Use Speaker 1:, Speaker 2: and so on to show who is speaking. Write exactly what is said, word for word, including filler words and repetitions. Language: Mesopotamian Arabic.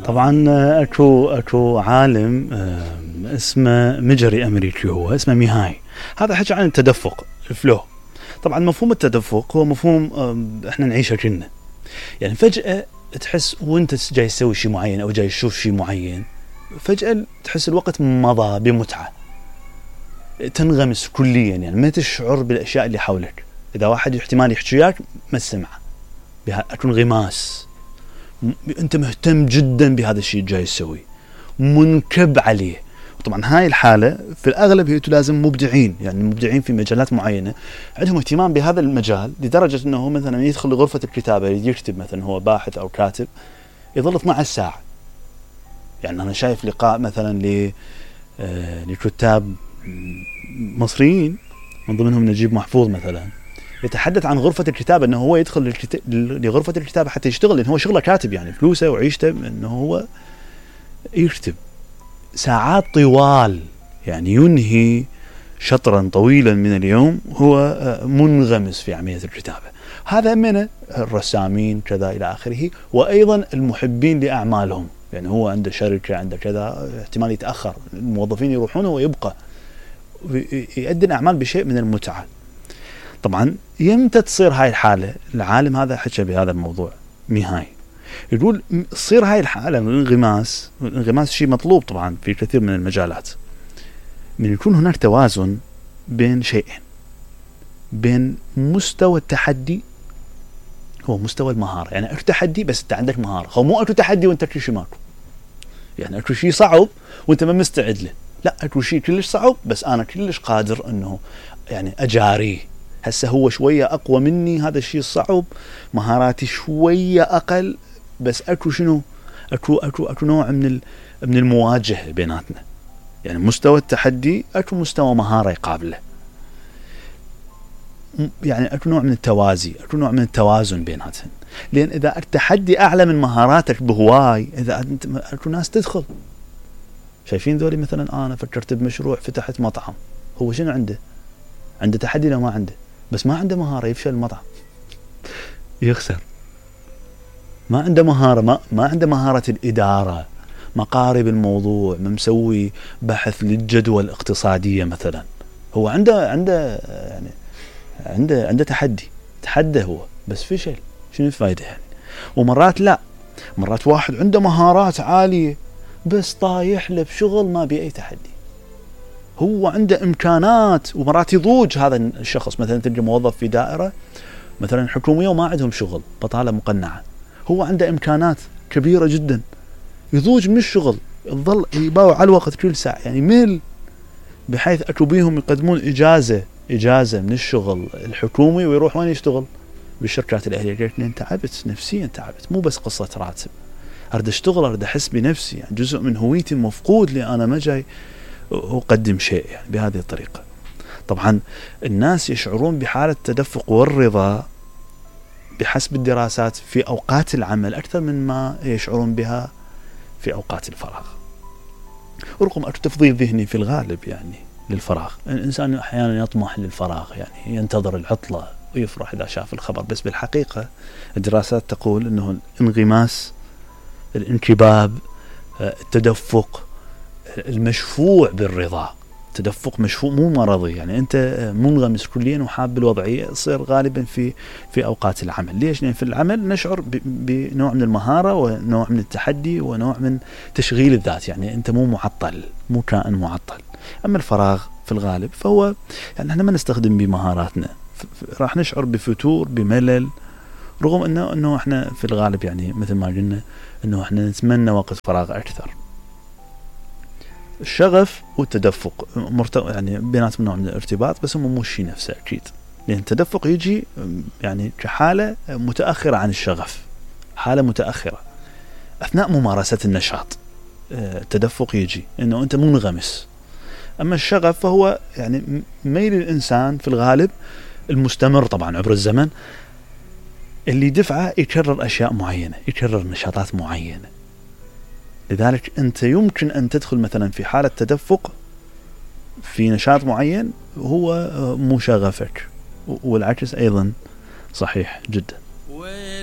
Speaker 1: طبعا اكو اكو عالم اسمه مجري امريكي، هو اسمه ميهاي. هذا حكى عن التدفق الفلو. طبعا مفهوم التدفق هو مفهوم احنا نعيشه كنا، يعني فجأة تحس وانت جاي تسوي شيء معين او جاي تشوف شيء معين، فجأة تحس الوقت مضى بمتعة، تنغمس كليا، يعني ما تشعر بالاشياء اللي حولك. اذا واحد احتمال يحكي وياك ما تسمعه، اكو انغماس، انت مهتم جدا بهذا الشيء جاي تسويه، منكب عليه. وطبعا هاي الحالة في الأغلب هي لازم مبدعين، يعني مبدعين في مجالات معينة عندهم اهتمام بهذا المجال لدرجة أنه مثلا يدخل لغرفة الكتابة يكتب، مثلا هو باحث أو كاتب، يظل اثنتي عشرة ساعة. يعني أنا شايف لقاء مثلا ل لكتاب مصريين من ضمنهم نجيب محفوظ مثلا، يتحدث عن غرفة الكتابة، أنه هو يدخل لغرفة الكتابة حتى يشتغل، لأنه هو شغله كاتب، يعني فلوسه وعيشته أنه هو يكتب ساعات طوال، يعني ينهي شطرا طويلا من اليوم هو منغمس في عملية الكتابة. هذا من الرسامين كذا إلى آخره، وأيضا المحبين لأعمالهم، يعني هو عنده شركة عنده كذا، احتمال يتأخر الموظفين يروحون ويبقى يؤدي الأعمال بشيء من المتعة. طبعا يمتى تصير هاي الحالة؟ العالم هذا حكى بهذا الموضوع ميهاي، يقول تصير هاي الحالة من الانغماس. الانغماس شيء مطلوب طبعا في كثير من المجالات، من يكون هناك توازن بين شيئين، بين مستوى التحدي، هو مستوى المهارة، يعني اكو تحدي بس انت عندك مهارة، هو مو اكو تحدي وانت كل شيء ماكو، يعني اكو شيء صعب وانت ما مستعد له، لا اكو شيء كلش صعب بس انا كلش قادر انه يعني اجاريه. هسه هو شوية اقوى مني هذا الشيء الصعب، مهاراتي شوية اقل، بس اكو شنو اكو اكو اكو نوع من ال... من المواجهة بيناتنا، يعني مستوى التحدي اكو مستوى مهارة يقابله، يعني اكو نوع من التوازي، اكو نوع من التوازن بيناتهم. لان اذا التحدي اعلى من مهاراتك بهواي، اذا انت اكو ناس تدخل شايفين ذولي، مثلا انا فكرت بمشروع فتحت مطعم، هو شنو عنده؟ عنده تحدي لو ما عنده، بس ما عنده مهارة، يفشل المطعم يخسر، ما عنده مهارة، ما, ما عنده مهارة الإدارة، مقارب الموضوع، ما مسوي بحث للجدوى الاقتصادية مثلا، هو عنده عنده يعني عنده عنده تحدي، تحدى هو بس فشل، شنو الفائدة يعني؟ ومرات لا، مرات واحد عنده مهارات عالية بس طايح له بشغل ما بي أي تحدي، هو عنده إمكانات، ومرات يضوج هذا الشخص، مثلا تلقى موظف في دائرة مثلا حكومية وما عندهم شغل، بطالة مقنعة، هو عنده إمكانات كبيرة جدا، يضوج من الشغل، يظل يباوع على الوقت كل ساعة، يعني ميل، بحيث أكو بيهم يقدمون إجازة إجازة من الشغل الحكومي ويروح وين يشتغل؟ بالشركات الأهلية. قلت لي أنت تعبت نفسيا، تعبت، مو بس قصة راتب، أرد أشتغل، أرد أحس بنفسي، يعني جزء من هويتي المفقود لي، أنا ما جاي أقدم شيء يعني بهذه الطريقة. طبعا الناس يشعرون بحالة التدفق والرضا بحسب الدراسات في أوقات العمل أكثر من ما يشعرون بها في أوقات الفراغ، ورغم أكو تفضيل ذهني في الغالب يعني للفراغ. الإنسان أحيانا يطمح للفراغ، يعني ينتظر العطلة ويفرح إذا شاف الخبر، بس بالحقيقة الدراسات تقول أنه الانغماس، الانكباب، التدفق المشفوع بالرضا، تدفق مشفوع مو مرضي، يعني أنت منغمس كليا وحاب بالوضعية، يصير غالبا في في أوقات العمل. ليش؟ لأن في العمل نشعر بنوع من المهارة ونوع من التحدي ونوع من تشغيل الذات، يعني أنت مو معطل، مو كائن معطل. أما الفراغ في الغالب فهو يعني احنا ما نستخدم بمهاراتنا، راح نشعر بفتور، بملل، رغم أنه أنه احنا في الغالب يعني مثل ما قلنا أنه احنا نتمنى وقت فراغ أكثر. الشغف والتدفق مرت... يعني بيناتهم نوع من الارتباط، بس هم مو الشيء نفسه أكيد، لأن التدفق يجي يعني كحالة متأخرة عن الشغف، حالة متأخرة أثناء ممارسة النشاط. التدفق يجي إنه أنت منغمس، أما الشغف فهو يعني ميل الإنسان في الغالب المستمر طبعا عبر الزمن، اللي دفعه يكرر أشياء معينة، يكرر نشاطات معينة. لذلك أنت يمكن أن تدخل مثلا في حالة تدفق في نشاط معين هو مو شغفك، والعكس أيضا صحيح جدا.